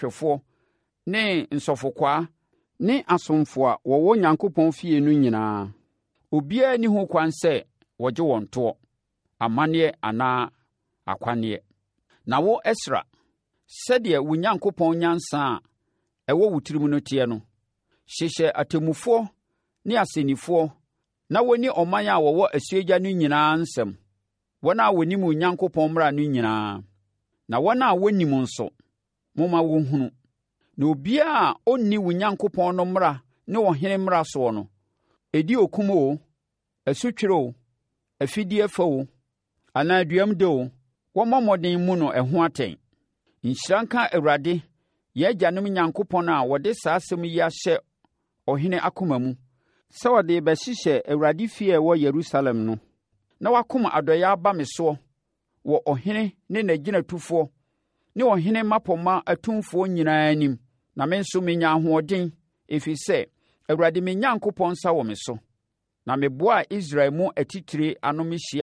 Hwɛfoɔ ne nsɔfokwaa ne asomfo a wɔwɔ Onyankopɔn fie no nyinaa. Obiara nni ho kwan sɛ wɔgye wɔn toɔ, amanneɛ anaa akwanneɛ. Na wo Esra, sɛdeɛ wo Nyankopɔn nyansa a ɛwɔ wo tirim no teɛ no, hyehyɛ atemmufoɔ ne asɛnnifoɔ na wɔnni ɔman a wɔwɔ asuogya no nyinaa nsɛm, wɔn a wɔnim Onyankopɔn mmara no nyinaa, na wɔn a wɔnnim nso, momma wɔnhunu. Na obiara a ɔnni wo Nyankopɔn no mmara ne ɔhene mmara soɔ no, ɛdi okum oo, asutwerɛ oo, afideɛ fa oo, anaa duam de oo, wɔmmɔ mmɔden mmu no ɛho atɛn. Nhyira nka Awurade, yɛn agyanom Nyankopɔn a ɔde saa asɛm yi ahyɛ ɔhene akoma mu, sɛ ɔde rebɛhyehyɛ Awurade fie a ɛwɔ Yerusalem no, na wakom adɔeɛ aba me soɔ wɔ ɔhene ne n'agyinatufoɔ ne ɔhene mmapɔmma atumfoɔ nyinaa anim, na me nso menya ahoɔden, ɛfiri sɛ, Awurade me Nyankopɔn nsa wɔ me so. Na meboaa Israel mu atitire ano mehyiaa.